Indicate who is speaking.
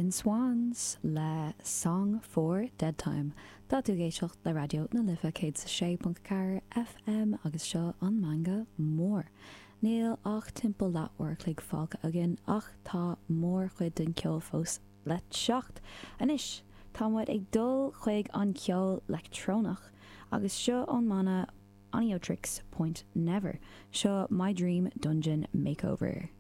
Speaker 1: Sin Swans le Song for Dead Time. Tá tú ag éisteacht le Raidió na Life 106.4 FM agus seo an Meangadh Mór. Níl ach timpeall leath uair a chloig fágtha againn ach tá mórchuid den ceol fós le teacht. Anois tá muid ag dul chuig an ceol leictreonach agus seo ón mbanna Oneohtrix Point Never. Seo My Dream Dungeon Makeover.